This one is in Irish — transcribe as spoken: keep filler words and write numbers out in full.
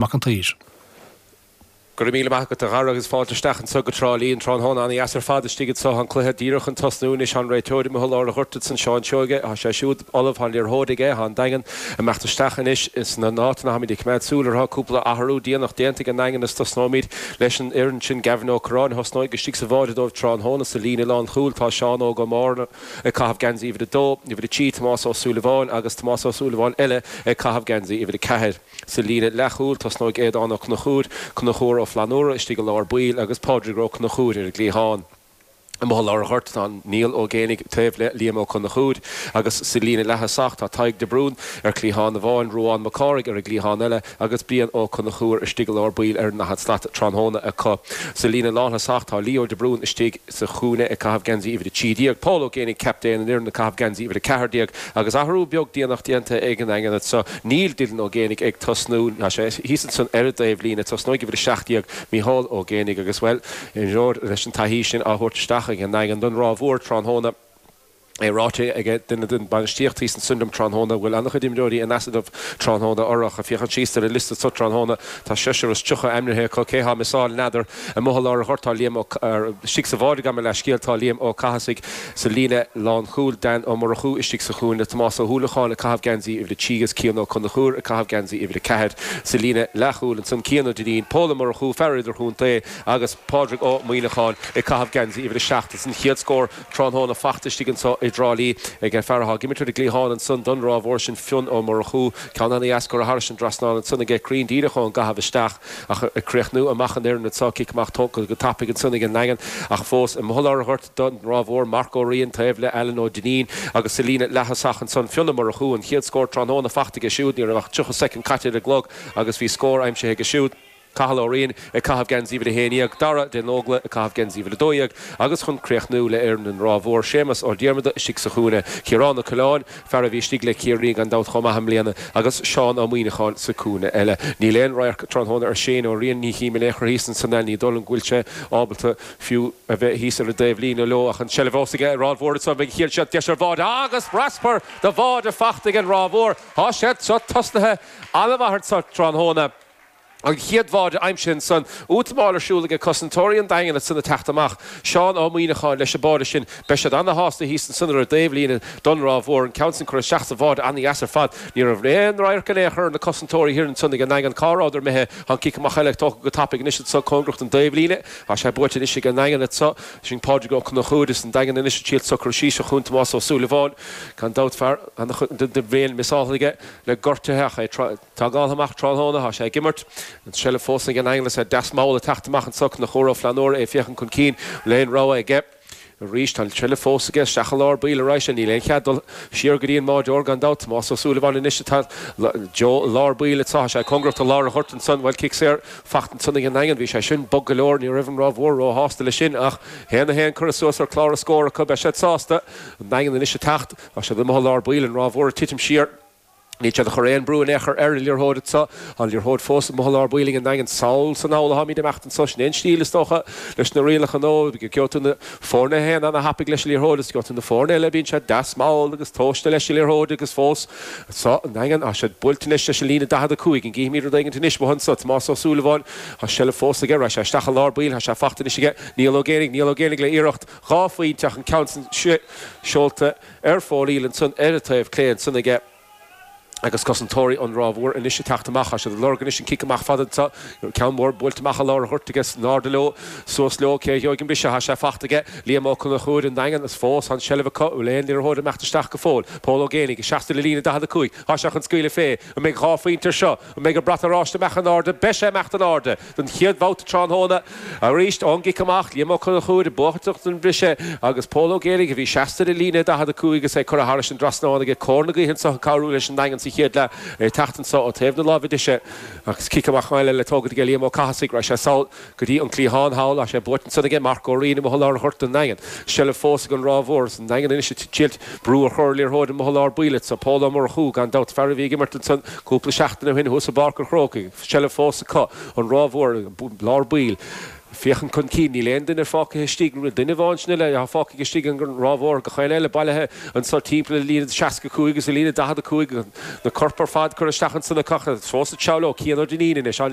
Mac an tSaoir. Go raibh míle maith agat a Dhara agus fáilte isteach anseo go Trá Lí an tráthnóna ana-dheas ar fad istigh anseo an cluiche díreach chun tosnú anois an réiteoir amuigh i lár an ghoirt ansan Seán Seoige tá sé siúd ullamh tá an liathróid aige tá an Daingean ag imeacht isteach anois sna n-áiteanna táimid ag coimeád súil orthu cúpla athrú déanach déanta ag an nDaingean is tosnóimid leis an fhoireann sin Gavin Ó Curráin a thosnóidh istigh sa bháide dóibh tráthnóna sa líne lánchúil tá Seán Óg Ó Mórna ag caitheamh geansaí uimhir a dó, uimhir a trí Tomás Ó Súilleabháin agus Tomás Ó Súilleabháin eile ag caitheamh geansaí uimhir a ceathair. Sa líne leathchúil, tosnóidh Aodán Ó Conchúir, Conchúr Ó Flannúra istigh i lár baill agus Pádraig Ó Conchúir ar an gcliathán. Amuigh i lár an ghoirt tá Niall Ó Géibheannaigh taobh le Liam Ó Conchúir agus sa líne leath-thosach tá Tadhg de Brún ar chliathán amháin, Ruán Mac Cárthaigh ar an gcliathán eile agus Brian Ó Conchúir istigh i lár baill ar an ndaichead slat tráthnóna acu. Sa líne lánthosach tá Leo de Brún istigh sa chúinne ag caitheamh geansaí uimhir a trí déag, Pól Ó Géibheannaigh, captaen an fhoireann ag caitheamh geansaí uimhir a ceathair déag agus athrú beag déanach déanta ag an nDaingean anseo. Níl Dylan Ó Géibheannaigh ag tosnú, tá sé thíos ansan ar an dtaobhlíne. Tosnóidh uimhir a seacht déag, Micheál Ó Géibheannaigh agus, bhuel, imreoir leis an taithí sin á thabhairt isteach ag an nDaingean don Ráth Mhór tráthnóna. É ráite ag duine den bhainistíocht thíos ansan liom tráthnóna go bhfuil an-chuid imreoirí in easnamh tráthnóna orthu. Ach féachaint síos ar an liosta seo tráthnóna, tá seisear is tríocha ainmnithe acu. Cé thá miseáil n'fheadar. Amuigh i lár an ghoirt tá Liam Ó, istigh sa bháide gabh mo leithscéal, tá Liam Ó Cathasaigh sa líne lánchúil, Dan Ó Murchú istigh sa chúinne, Tomás Ó hUallacháin ag caitheamh geansaí uimhir a trí agus Cian Ó Conchúir ag caitheamh geansaí uimhir a ceathair. Sa líne leathchúil ansan Cian Ó Duinnín, Pól Ó Murchú, fear idirchontae, agus Pádraig Ó Muíneacháin ag caitheamh geansaí uimhir a seacht. Is an chéad scór tráthnóna fachta istigh anso i dTrá Lí ag an fear atá ag imirt ar an gcliathán ansan don Ráth Mhór sin Fionn Ó Murchú. Ceann ana-dheas curtha thairis an dtrasnán ansan aige, cruinn díreach ón gcaitheamh isteach ach ag críochnú amach an fhoireann anso. Cic amach tógtha go tapaidh ansan ag an nDaingean ach fós amuigh i lár an ghoirt don Ráth Mhór, Marc Ó Riain taobh le Alan Ó Duinnín agus sa líne leath-thosach ansan Fionn Ó Murchú. An chéad scór tráthnóna fachta aige siúd. Ní raibh ach tríocha soicind caite ar an gclog agus bhí scór aimsithe aige siúd. Cathal Ó Riain ag caitheamh geansaí uimhir a haon dhéag, Dara de Nógla ag caitheamh geansaí uimhir a dó dhéag agus chun críochnú le fhoireann an Ráth Mhór, Séamus Ó Diarmada istigh sa chúinne, Ciarán Ó Coileáin, fear a bhí istigh le Ciarraí gan dabht chomh maith i mbliana, agus Seán Ó Muíneacháin sa chúinne eile. Níl aon radharc tráthnóna ar Shane Ó Riain, ní chím in aon chor thíos ansan é, ní dóigh liom go bhfuil sé ábalta fiú a bheith thíos ar an dtaobhlíne leo ach an tseilbh fós ag an Ráth Mhór anso, beidh an chéad seans deis ar bháide agus raspar de bháide fachta ag an Ráth Mhór. Tá siad seo tosnaithe an-mhaith anso tráthnóna. An chéad bháide aimsithe ansan. Útamáil ar siúl aige cosantóirí an Daingin ansan ag teacht amach. Seán Ó Muíneacháin leis an báide sin. Beidh siad ana-shásta thíos ansan ar an dtaobhlíne don Ráth Mhór. An ceann san curtha isteach sa bháide ana-dheas ar fad. Ní raibh aon radharc in aon chor ar na cosantóirí thiar ansan ag an nDaingean. Cá rabhadar imithe? Tá an cic amach eile tógtha go tapaidh anois anso cóngarach don dtaobhlíne. Tá sé buaite anois ag an nDaingean anso. Sin Pádraig Ó Conchúir is an Daingean anois ag triail socrú síos seo chugainn Tomás Ó Súilleabháin. Gan dabht fear an-chuid den bhliain miseáltha aige le gortuithe ach é Tógáil amach tráthnóna, tá sé ag imirt. An tseilbh fós ag an nDaingean is é deas mall ag teacht amach anso Conchúr Ó Flannúra, é ag féachaint chun cinn, bhfuil aon rogha aige. Arís, tá an tseilbh fós aige, isteach i lár baill arís é, níl aon chead dul siar go dtí an mbáireoir gan dabht. Tomás Ó Súilleabháin anois atá Joe i lár baill anso, tá sé cóngarach do lár an ghoirt ansan, bhuel, cic saor fachta ansan ag an nDaingean, bhí sé sin bog go leor, ní raibh an Ráth Mhór róshásta leis sin ach haon a haon curtha suas ar chlár an scóir acu, beidh siad sásta. An Daingean anois ag teacht, tá siad amuigh i lár baill, an Ráth Mhór ag titim siar. Níl siad ag cur aon brú in aon chor ar an liathróid anso. Tá an liathróid fós amuigh i lár baill ag an nDaingean. Sall 's anall atáimid ag imeacht anso. Sin é an stíl, is dócha, leis na rialacha nua. Gheobhaidh tú na foirne a théann ana-thapaidh leis an liathróid is gheobhaidh tú na foirne eile a bíonn siad deas mall agus tomhaiste leis an liathróid agus fós anso an Daingean. Tá siad buailte anois leis an líne daichead a cúig. An gcífimid rud éigint anois uathu anso? Tomás Ó Súilleabháin. Tá seilbh fós aige. Raghaidh sé isteach i lár baill. Tá sé fachta anois aige. Niall Ó Géibheannaigh. Niall Ó Géibheannaigh le iarracht dhá phointe ach an ceann san seolta ar fóraoil ansan ar an taobh clé ansan aige. Agus cosantóirí an Ráth Mhór anois ag teacht amach. Tá siad ag lorg anois an cic amach fada anseo. Ceann mór buailte amach i lár an ghoirt agus in airde leo, suas leo. Cé a gheobhaidh an briseadh? Tá sé fachta aige Liam Ó Conchúir, an Daingean, is fós tá an tseilbh acu. An bhfuil aon liathróid ag imeacht isteach go fóill? Pól Ó Géibheannaigh, seasta le líne daichead a cúig. Tá sé chun scaoileadh fé. An mbeidh dhá phointe air seo? An mbeidh an brat oráiste ag imeacht in airde? Beidh sé ag imeacht in airde don chéad bhabhta tráthnóna. Arís ón gcic amach, Liam Ó Conchúir ag buachaint an briseadh agus Pól Ó Géibheannaigh a bhí seasta ar an líne daichead a cúig agus é curtha thairis an dtrasnán aige cóir na gaoithe anseo ag cabhrú leis an nDaingean sa chéad leath, é ag teacht anseo ó taobh na láimhe deise agus cic amach eile le tógaint aige Liam Ó Cathasaigh. Raghaidh sé sall go dtí an cliathán thall. Tá sé buaite ansan aige Marc Ó Riain amuigh i lár an ghoirt don nDaingean. Seilbh fós ag an Ráth Mhór is an Daingean anois ag triailt brú a chur ar liathróid amuigh i lár baill anseo. Pól Ó Murchú gan dabht, fear a bhí ag imirt ansan cúpla seachtain ó shin thuas i bPáirc an Chrócaigh. Seilbh fós acu, an Ráth Mhór, lár baill. Féachaint chun cinn, níl aon duine fágtha istigh, duine amháin sin eile atá fágtha istigh an Ráth Mhór gach éinne eile bailithe anso timpeall an líne seasca cúig agus an líne daichead a cúig, na coirp ar fad curtha isteach ansan acu. Fós ag treabhadh leo, Cian Ó Duinnín anois, an.